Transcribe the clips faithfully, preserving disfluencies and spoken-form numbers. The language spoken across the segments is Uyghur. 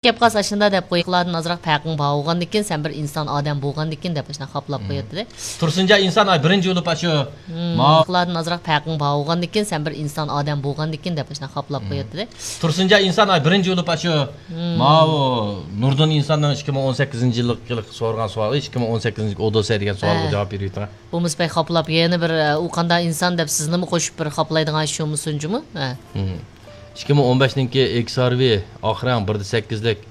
گەپ قالسا ئاشۇنداق دەپ قوي. قىلادىن ئازراق پەرقىڭ بار بولغاندىكىن، سەن بىر ئىنسان ئادەم بولغاندىكىن دەپ ئاشۇنداق خاپىلاپ قوياتتى. تۇرسۇنجان ئىنسان، ئاي، بىرىنچى بولۇپ ئاشۇ. ماۋۇ قىلادىن ئازراق پەرقىڭ بار بولغاندىكىن، سەن بىر ئىنسان ئادەم بولغاندىكىن دەپ ئاشۇنداق خاپىلاپ قوياتتى. تۇرسۇنجان ئىنسان، ئاي، بىرىنچى بولۇپ ئاشۇ. ماۋۇ نۇردىن ئىنساننىڭ ئىككى مىڭ ئون سەككىزىنچى يىللىق سورىغان سوئالى، ئىككى مىڭ ئون سەككىزىنچى ئودېسسېي دېگەن سوئالغا جاۋاب بېرىۋېتىڭ. بولمىسا بەك خاپىلاپ، يەنە بىر، ئە، ئۇ قانداق ئىنسان دەپ سىزنىمۇ قوشۇپ بىر خاپىلايدىغان ئىش بولمىسۇن جۇمۇ؟ ھە. مم. ئىككى مىڭ ئون بەشنىڭكى ئېكس ئار ۋى ئاخىرەڭ بىردە سەككىزلىك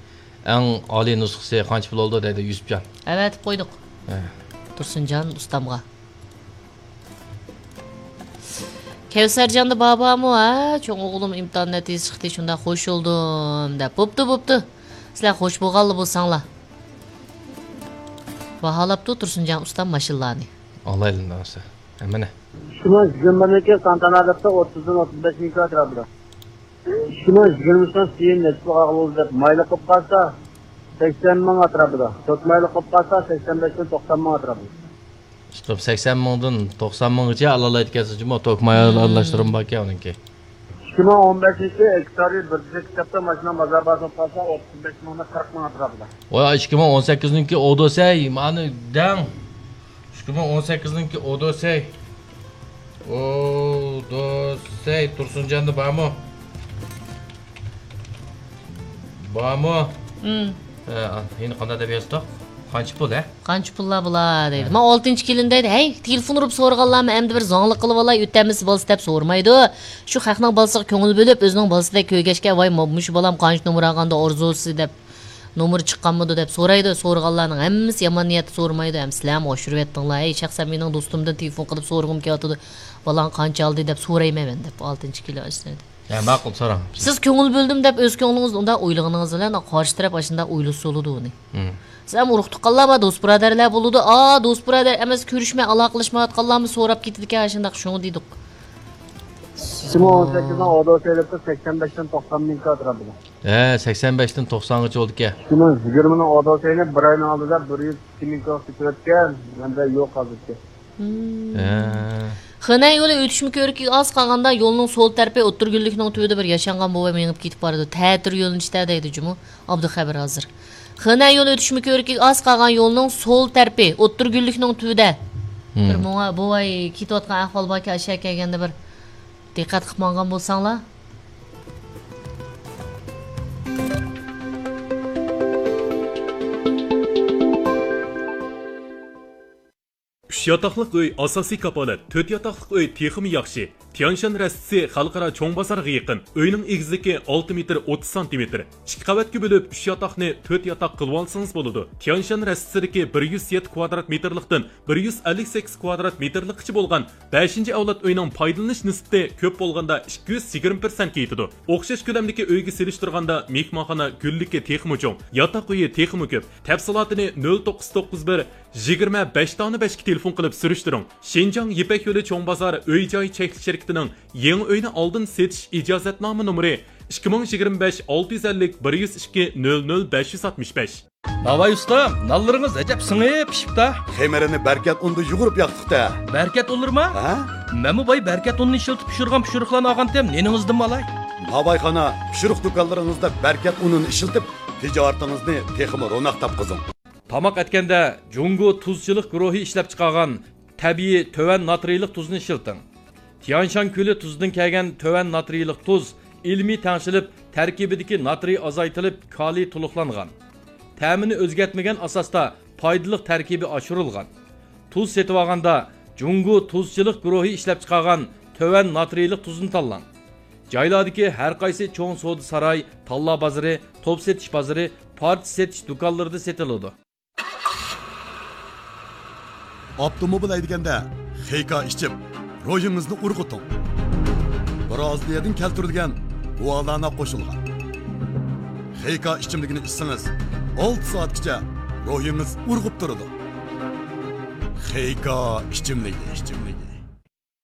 ئەڭ ئالىي نۇسخىسى قانچە پۇل بولدى دەيدۇ يۈسۈپجان. ئەۋەتىپ قويدۇق. ھە. تۇرسۇنجان ئۇستامغا. كەۋسەرجاندا بار بارمۇ؟ ھە، چوڭ ئوغلۇم ئىمتىھان نەتىجىسى چىقتى، شۇنداق خوش بولدۇم دەپ. بوپتۇ، بوپتۇ. سىلەر خوش بولغانلا بولساڭلار. باھالاپتۇ تۇرسۇنجان ئۇستام ماشىنىلارنى. ئالايلى نەرسە. ھەممىنى. ئىككى مىڭ يىگىرمە بىرنىڭكى سانتانا دەپتۇ، ئوتتۇزدىن ئوتتۇز بەش مىڭ كىلو ئەتراپىدا. ئىككى مىڭ يىگىرمە ئۈچنىڭ سىيىن نەچچە پۇلغا ئالىمىز دەپ مايلىق قىلىپ قالسا، سەكسەن مىڭ ئەتراپىدا. تۆت مايلىق قىلىپ قالسا، سەكسەن بەشتىن توقسان مىڭ ئەتراپىدا. ئىشقىلىپ سەكسەن مىڭدىن توقسان مىڭغىچە ئالالايدىكەنسىز جۇمۇ، توك مايلىق ئارىلاشتۇرۇلما باركەن ئۇنىڭكى. ئىككى مىڭ ئون بەشىنچى ئىككى تارىخ بىر كىتابتا ماشىنا بازار باھاسى بولسا ئوتتۇز بەش مىڭدىن قىرىق مىڭ ئەتراپىدا. ۋاي، ئىككى مىڭ ئون سەككىزنىڭكى ئودېسسېي، مانا دەڭ. ئىككى مىڭ ئون سەككىزنىڭكى ئودېسسېي. ئودېسسېي تۇرسۇنجاندا بارمۇ؟ بارمۇ؟ ھە، يەنە قانداق دەپ يازدۇق؟ قانچە پۇل، ھە؟ قانچە پۇللار بۇلار دەيدۇ. مانا ئالتىنچى كېلىن دەيدۇ، ھەي، تېلېفون ئۇرۇپ سورىغانلارمۇ ئەمدى بىر زاڭلىق قىلىۋالاي، ئۆتەممىسى بولسا دەپ سورىمايدۇ. شۇ خەقنىڭ بالىسىغا كۆڭۈل بۆلۈپ، ئۆزىنىڭ بالىسىدەك كۆرگەچكە، ۋاي، مۇ-، مۇشۇ بالام قانچە نومۇر ئالغاندا ئارزۇسى دەپ، نومۇر چىققانمىدۇ دەپ سورايدۇ. سورىغانلارنىڭ ھەممىسى يامان نىيەتتە سورىمايدۇ، ھەم سىلەرمۇ ئاشۇرۇۋەتتىڭلار. ھەي، شەخسەن مېنىڭ دوستۇمدىن تېلېفون قىلىپ سورىغۇم كېلىۋاتىدۇ، بالاڭ قانچە ئالدى دەپ سورايمەن مەن دەپ، ئالتىنچى كېلىن ئاشۇ دەيدۇ. ھە، ماقۇل، سوراڭ. سىز كۆڭۈل بۆلدۈم دەپ ئۆز كۆڭلىڭىزنى ئۇنداق ئويلىغىنىڭىز بىلەن قارشى تەرەپ ئاشۇنداق ئويلىسا بولىدۇ ئۇنى. سىز ھەم ئۇرۇق تۇغقانلار بار، دوست بۇرادەرلەر بولىدۇ. ئا، دوست بۇرادەر ئەمەس، كۆرۈشمەي ئالاقىلەشمەيۋاتقانلارمۇ سوراپ كېتىدىكەن، ئاشۇنداق شۇڭا دېدۇق. ئىككى مىڭ ئون سەككىزنىڭ ئودېسسېي دەپتۇ، سەكسەن بەشتىن توقسان مىڭ كىلو ئەتراپىدا. ھە، سەكسەن بەشتىن توقسانغىچە بولىدىكەن. ئىككى مىڭ يىگىرمىنىڭ ئودېسسېينى بىر ئاينىڭ ئالدىدا بىر يۈز ئىككى مىڭ كىلو سېتىۋەتكەن، مەندە يوق ھازىرچە. ھە. خېنەن يولى ئۆتۈشمە كۆۋرۈكىگە ئاز قالغاندا يولنىڭ سول تەرىپى ئوتتۇرا گۈللۈكنىڭ تۈۋىدە بىر ياشانغان بوۋاي مېڭىپ كېتىپ بارىدۇ. تەتۈر يۆنىلىشتە دەيدۇ جۇمۇ ئابدۇخەبىر ھازىر. خېنەن يولى ئۆتۈشمە كۆۋرۈكىگە ئاز قالغان يولنىڭ سول تەرىپى ئوتتۇرا گۈللۈكنىڭ تۈۋىدە. بىر ماڭا بوۋاي كېتىۋاتقان ئەھۋال باركەن، ئاشۇ يەرگە كەلگەندە بىر دىققەت قىلىپ ماڭغان بولساڭلار. ئۈچ ياتاقلىق ئۆي ئاساسىي كاپالەت، تۆت ياتاقلىق ئۆي تېخىمۇ ياخشى. تيانشان رەستىسى خەلقئارا چوڭ بازارغا يېقىن. ئۆينىڭ ئېگىزلىكى ئالتە مېتىر ئوتتۇز سانتىمېتىر. ئىككى قەۋەتكە بۆلۈپ، ئۈچ ياتاقنى تۆت ياتاق قىلىۋالسىڭىز بولىدۇ. تيانشان رەستىسىدىكى بىر يۈز يەتتە كۋادرات مېتىرلىقتىن بىر يۈز ئەللىك سەككىز كۋادرات مېتىرلىققىچە بولغان بەشىنچى ئەۋلاد ئۆينىڭ پايدىلىنىش نىسبىتى كۆپ بولغاندا ئىككى يۈز يىگىرمە پىرسەنتكە يېتىدۇ. ئوخشاش كۆلەمدىكى ئۆيگە سېلىشتۇرغاندا مېھمانخانا گۈللۈكى تېخىمۇ چوڭ، ياتاق ئۆيى تېخىمۇ كۆپ. تەپسىلاتىنى نۆل توققۇز توققۇز بىر، يىگىرمە بەش دانە بەشكە تېلېفون قىلىپ سۈرۈشتۈرۈڭ. شىنجاڭ يىپەك يولى چوڭ بازار ئۆي جاي چەكلىك شىركىتىنىڭ يېڭى ئۆينى ئالدىن سېتىش ئىجازەتنامە نومۇرى ئىككى مىڭ يىگىرمە بەش ئالتە يۈز ئەللىك بىر يۈز ئىككى نۆل نۆل بەش يۈز ئاتمىش بەش. ناۋاي ئۇستام، نانلىرىڭىز ئەجەب سىڭىپ پىشىپتا. خېمىرىنى بەركەت ئۇندا يۇغۇرۇپ ياقتۇقتا. بەركەت ئۇنلىرىما؟ ھە؟ مەنمۇ باي بەركەت ئۇنىنى ئىشلىتىپ پىشۇرغان پىشۇرۇقلارنى ئالغانتىم، نېنىڭىزدىنمۇ ئالاي؟ ناۋايخانا، پىشۇرۇق دۇكانلىرىڭىزدا بەركەت ئۇنىنى ئىشلىتىپ، تىجارىتىڭىزنى تېخىمۇ روناق تاپقۇزۇڭ. تاماق ئەتكەندە جۇڭگو تۇزچىلىق گۇرۇھى ئىشلەپچىقارغان تەبىئىي تۆۋەن ناترىيلىق تۇزنى ئىشلىتىڭ. تيانشان كۆلى تۇزىدىن كەلگەن تۆۋەن ناترىيلىق تۇز ئىلمىي تەڭشىلىپ، تەركىبىدىكى ناترىي ئازايتىلىپ، كالىي تولۇقلانغان. تەمىنى ئۆزگەرتمىگەن ئاساستا پايدىلىق تەركىبى ئاشۇرۇلغان. تۇز سېتىۋالغاندا جۇڭگو تۇزچىلىق گۇرۇھى ئىشلەپچىقارغان تۆۋەن ناترىيلىق تۇزنى تاللاڭ. جايلاردىكى ھەر قايسى چوڭ سودا ساراي، تاللا بازىرى، توپ سېتىش بازىرى، پارچە سېتىش دۇكانلىرىدا سېتىلىدۇ. ئاپتوموبىل ھەيدىگەندە خېيكا ئىچىپ، روھىڭىزنى ئۇرغۇتۇڭ. برازىلىيەدىن كەلتۈرۈلگەن گۇالانا قوشۇلغان خېيكا ئىچىملىكىنى ئىچسىڭىز، ئالتە سائەتكىچە روھىڭىز ئۇرغۇپ تۇرىدۇ. خېيكا ئىچىملىكى، ئىچىملىكى.